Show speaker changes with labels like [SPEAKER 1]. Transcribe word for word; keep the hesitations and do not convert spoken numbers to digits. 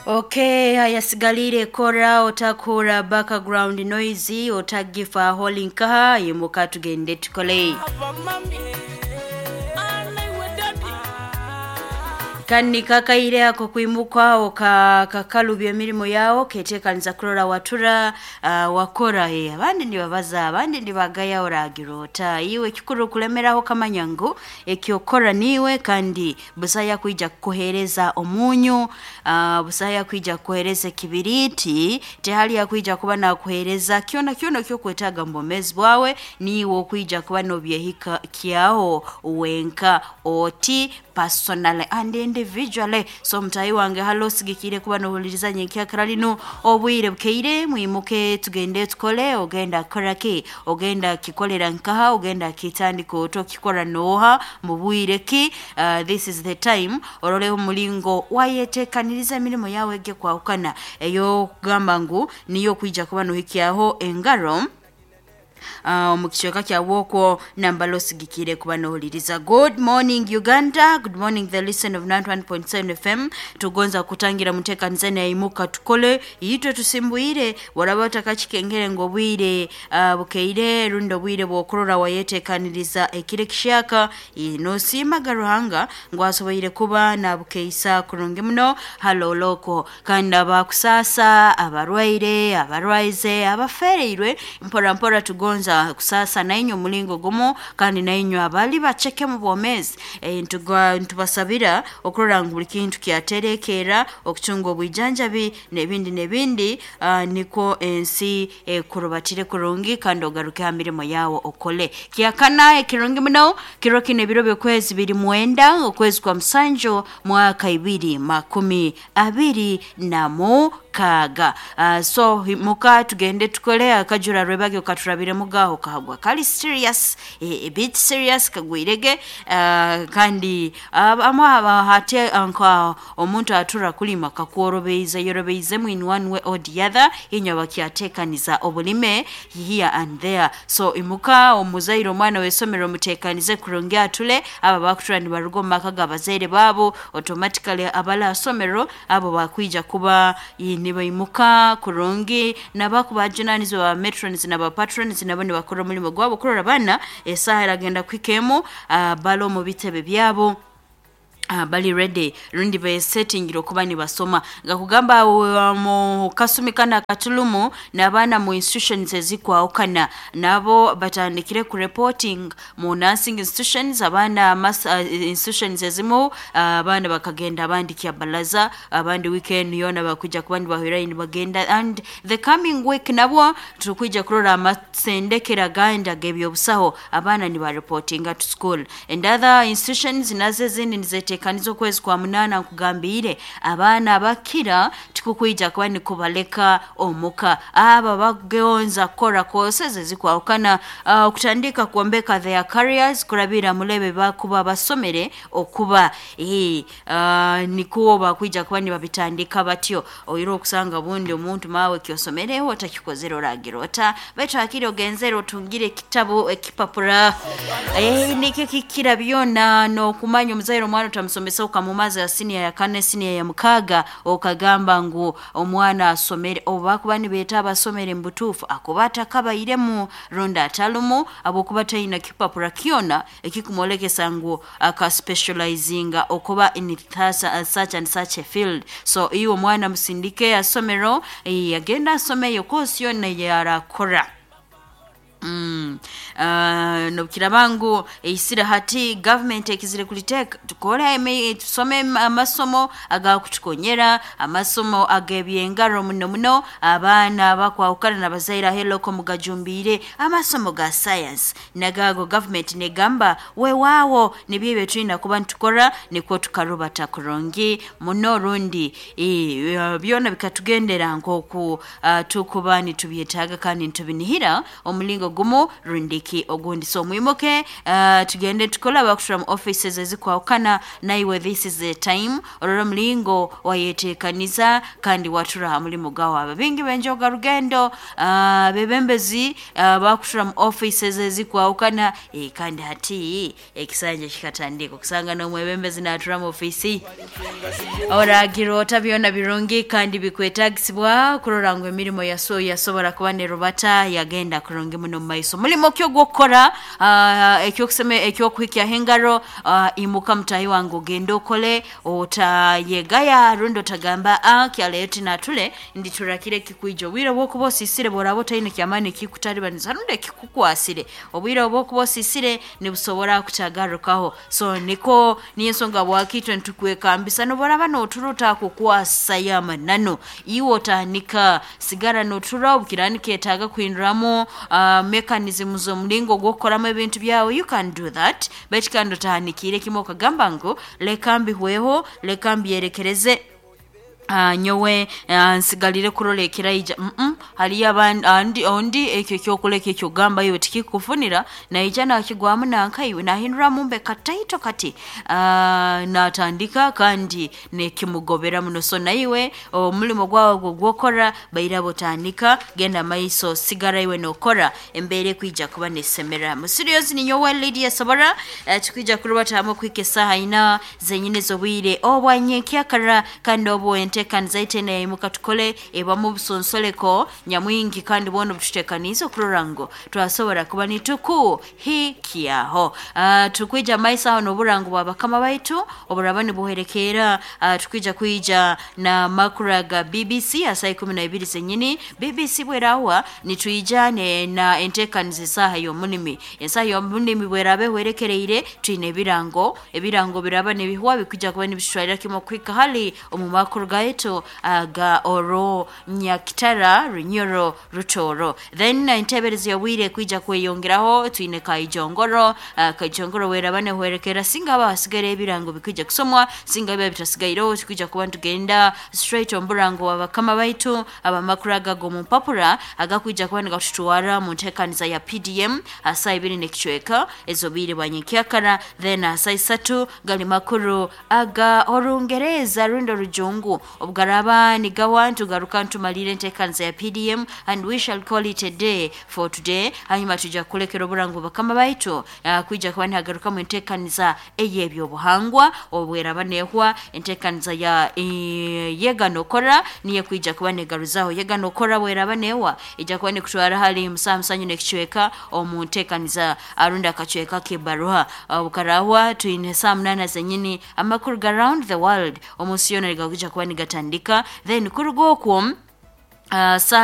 [SPEAKER 1] Okay, hayasigalire kora otakora background noise otagifa holinkaha yimuka tugende tukole. Kandi kakaire ako kwimuka oka kakalubya emirimu yawo keteekaniza kurora watura uh, wakora eh, abandi nibabaza abandi nibagaya oragira ota iwe kikuru kulemeraho kamanya ngu ekyokora niwe kandi busaya kwija kukuhereza omunyu uh, busaya kwija kukuhereza ekibiriti tehali yakwija kuba nakuhereza kyona kyona kyokwetaaga mu bwomezi bwawe niiwe okwija kuba nobyehika kyaho wenka oti personally and individually. So mutayi wange halo osigikire kuba nohuliriza nyenkyakara lino obwire bukeire mwimuke tugende tukole. Ogenda kukora ki? Ogenda kikolera nkaha? Ogenda kitandika ota okikora nooha mu bwire ki? Uh, this is the time oroleho omulingo wayeteekaniriza emirimu yawe ege kwahukana ey'okugamba ngu niyo kwija kuba nohikyaho engaro Uh, mu kicweka kyawe okwo nambala osigikire kuba nohuliriza. Good morning Uganda, good morning the listen of ninety-one point seven F M. Tugonza kutangira muteekaniza naimuka tukole itwe tusimbuire waraba otakakikengere ngu obwire uh, bukeire rundi obwire bw'okurora wayeteekaniriza ekiro ekishaka nosiimaga Ruhanga ngu asoboire kuba nabukeisa kurungi muno haloloko. Kandi abakusaasa abarwaire abarwaize abafereirwe mpora mpora tugonza kusasa nainywe omulingo gumu kandi nainywe abali baceke mu bwomezi e, ntubasabira okurora ngu buli kintu kyaterekeera okucunga obwijanjabi n'ebindi n'ebindi uh, niko ensi ekurubatire kurungi kandi ogaruke ha mirimo yawo okole. Kyakana ekirungi muno kiro kino ebiro by'okwezi biri mwenda okwezi kwa musanju mwaka ibiri makumi abiri na mukaaga. Uh, so muka tugende tukole akajura rwebage okaturabire mugaho kahagwa kali serious e, a bit serious kagwirege uh, kandi amwe hate nka omuntu atura kulima kakworobeyiza yorobeyize in one way or the other inywa bakyatekaniza obulime here and there. So imuka omuzaire omwana w'essomero mutekanize kurungi atule aba bakutura nibaruga omu maka g'abazaire baabo automatically abala asomero abo bakwija kuba nibaimuka kurungi nabakubajunaanizibwa ba matrons naba patrons nabo nibakora omulimo gwabo kurora bana esaaha eragenda kuhikemu uh, bali omu bitebe byabo Uh, bali ready rundi besettingire okuba nibasoma nga kugamba uh, mu kasumi kana katulumu n'abaana mu institutions ezikwawukana nabo batandikire ku reporting mu nursing institutions abaana mas, uh, institutions ezimu uh, abaana bakagenda abandi kyabalaza abandi weekend yona bakuja kuba nibahwera nibagenda and the coming week nabo tukwija kurora amasendekera gandi ag'ebyobusaho abaana nibareportinga to school and other institutions nazo ezindi nizete kanizo kwezi kwa munana nkugambire abaana bakira tikukwija kuba nikubaleka omuka aba bagonza kukora courses ezikwawukana uh, okutandika kwombeka their careers kurabira mulebe bakuba basomere okuba e, uh, nikuwo bakwija kuba nibabitandika batyo oira okusanga bundi omuntu mawe kyosomereho otakikozere oragira ota baitu hakiri ogenzere otungire ekitabo ekipapura e, nikyo kikira byona n'okumanya omuzaire omwana otamusomesa okamumaza ya siniya ya kane siniya ya mukaaga okagamba ngu omwana asomere oba kuba nibeeta abasomere mu butuufu akuba atakabairemu rundi atalumu abwokuba talina kipapura kyona ekikumwolekesa ngu akaspecializinga okuba in such and such a field. So iwe omwana musindike asomero agenda asomeyo kosi yona yarakora. Mm. Uh, nokiraba ngu eisira hati government ekizire kuliteeka tukore tusome amasomo agakutukonyera amasomo ag'ebyengaro muno muno abaana bakwawukana n'abazaire aheloko mugajumbire amasomo ga science nagago government negamba weewaawo nibyo ebyo tulina kuba nitukora nikwo tukarubata kurungi muno rundi e, byona bikatugendera nk'oku uh, tukuba nitubyetaaga kandi nitubinihira omulingo Gumu rundiki ogundi. So mwimuke, uh, tugende tukola abakushura mu offices ezikwahukana naiwe. This is the time orora mulingo wayetekaniza kandi watura ha mulimu gawe. Aba bingi benjoga rugendo, uh, bebembezi uh, bakushura mu offices ezikwahukana, e, kandi hati ekisanja kikatandika okusanga n'omwebembezi natura mu ofisi. Oragira ota byona birungi kandi bikwetagisibwa kurora ngu emirimo yaso yasobora kuba nerubata yagenda kurungi muno mu maiso. Mulimo ki ogwokukora, uh, ekyokuseme ekyokuhikyaho engaro, uh, imuka mutahi wange ogende okole, otayegaya rundi otagamba ah, kyaleyo tinatule nditurakire kikwija. Obwire bwokuba osisire bworaba otaine kyamaani kikutaribaniza rundi ekikukwasire, obwire obwokuba osisire nibusobora kutagarukaho. So niko niyo ensonga bwakitwe nitukwekambisa noboraba notura otakukwasa yamanano iwe otanika sigara notura obukira niketaaga kuhinduramu uh, mechanism z'omulingo gw'okukoramu ebintu byawe, you can do that, baitu kandi otahanikire kimwe okagamba ngu leka mbihweho, leka mbyerekereze, Uh, nyowe uh, nsigalire kurora ekiraija. mm -mm. Haliyo abandi ondi ekyo ekyokuleka ekyogamba iwe tikikufunira naija nakigwamu nankaiwe nahinduramu mbe kataito kati, uh, natandika kandi nekimugobera muno. So naiwe omulimo gwawe gwo gwokora bairabo otandika genda maiso, sigara iwe nokora embere kwija kuba nesemera mu serious. Ni nyowe Lydia Sobora, uh, tukwija kurubatamu kwika esaha ina zenyine z'obwire obwanyenkyakara kandi obwo enteekaniza itene yaimuka tukole ebamu obusonsoleko nyamwingi kandi bwona obututekaniize okurora ngu twasobora kuba nitukuhikyaho. Uh, tukwija maiso aho n'oburango bwa bakama baitu oburaba nibuherekeera. uh, tukwija kwija na makura ga B B C asaa ikumi na ibiri zenyini. B B C bwerahwa nitwija ne na enteekaniza esaaha y'omunimi. Esaaha y'omunimi bweraba ehwerekereire twine ebirango, ebirango biraba nibihwa bikuja kuba nibishwarira kimwe okuhika hali omu makuru gaitu aga oro Nyakitara Runyoro Rutoro. Then enteberezi yobwire kwija kweyongeraho twine Kaijongoro, uh, Kaijongoro weraba nehwerekera singa aba hasigaire ebirango bikuja kusomwa, singa biba bitasigaireho tukwija kuba nitugenda straight omuburango wa bakama baitu abamakuru aga g'omu mpapura agakwija kuba nigatutwara mu nteekaniza ya P D M asaa ibiri n'ekicweka ez'obwire bwa nyenkyakara. Then asaa isatu gali makuru aga Orungereza rundi Orujungu obugaraba nigawa ntugaruka ntumalire enteekaniza ya P D M and we shall call it a day for today. Hanyuma tuja kulekera oburango bakama baitu uh, kwija kuba nihagarukamu enteekaniza ey'ebyobuhangwa obweraba nehwa enteekaniza ya e, yega nokora niyo kwija kuba negaruzaho. Yega nokora bweraba nehwa ija kuba nikutwara hali musaa musanyu n'ekicweka omu nteekaniza arundi akacweka k'ebaruha. Obukarahwa twine saa munana zenyini amakuru ga round the world omunsi yoona nigakuja kuba nigatandika. Then kuruga okwo uh, saa